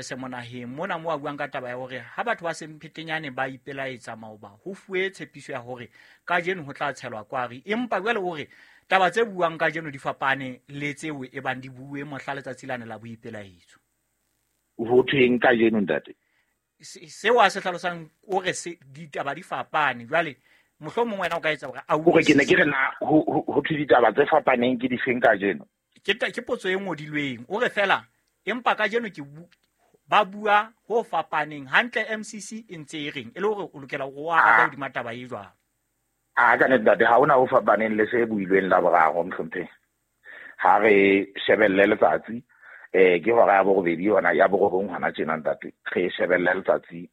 Semonaheng mona mo a buang ka taba ya hore ha batho ba Semphetenyane ba ipelaetsa maoba, ho fuwe tshepiso ya hore kajeno ho tla tshelwa kwari, empa jwale o re taba tse buang kajeno di fapane le tseo e bang di bue mohla letsatsi lane la boipelaetso. Ho thweng kajeno, ntate? Seo a se hlalosang o re ditaba di fapane. Jwale mohlomong wena o ka etsa hore a Hore ke ne ke re na ho thwe ditaba tse fapaneng ke difeng kajeno? Ke potso e ngodilweng. O re fela empa kajeno ke ba bua ho fapaneng hantle. MCC e ntse e reng e le hore o lokela hore o arabe hodima taba e jwang? A ka nnete, ntate, ha hona ho fapaneng le se builweng la boraro, mohlompheng. Ha re shebelle letsatsi, ke hora ya borobedi yona ya borobong hona tjena, ntate. Re shebelle letsatsi,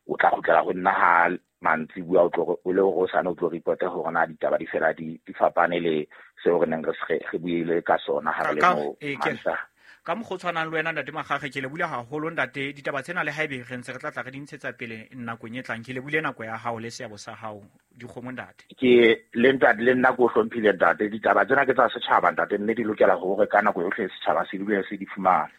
o tla kgutlela ho nna ha mantsibuya, o tlo o le hore o sane o tlo reporte hore na ditaba di fela di fapane le seo re neng re buile ka sona ha re le mo Mantaha. Ka mokgwa o tshwanang le wena, ntate Makgakge, ke lebule haholo, ntate. Ditaba tsena le haebe re ntse re tla tla re di ntshetsa pele nakong e tlang, ke lebule nako ya hao le seabo sa hao dikgomo, ntate. Ke le ntate, le nna ke o hlomphile, ntate. Ditaba tsena ke tsa setjhaba, ntate, mme di lokela hore ka nako yohle setjhaba se dule se di fumana.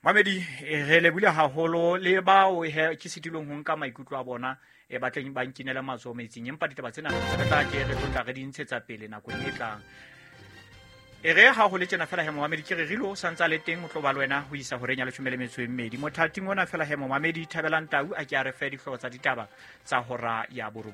Mamedi, re lebule haholo le bao he ke sitilweng ho nka maikutlo a bona, e batleng ba nkinele matsoho metsing, empa ditaba tsena re tla ke re tlo tla re di ntshetsa pele nakong e tlang. E re ha ho le tjena fela he, momamedi, ke re rilo sa ntsa le teng o tlo ba le wena ho isa horeng ya 12. Mothating ona fela he, momamedi, Thabelang Tau a ke a re fe dihlooho tsa ditaba tsa hora ya 9.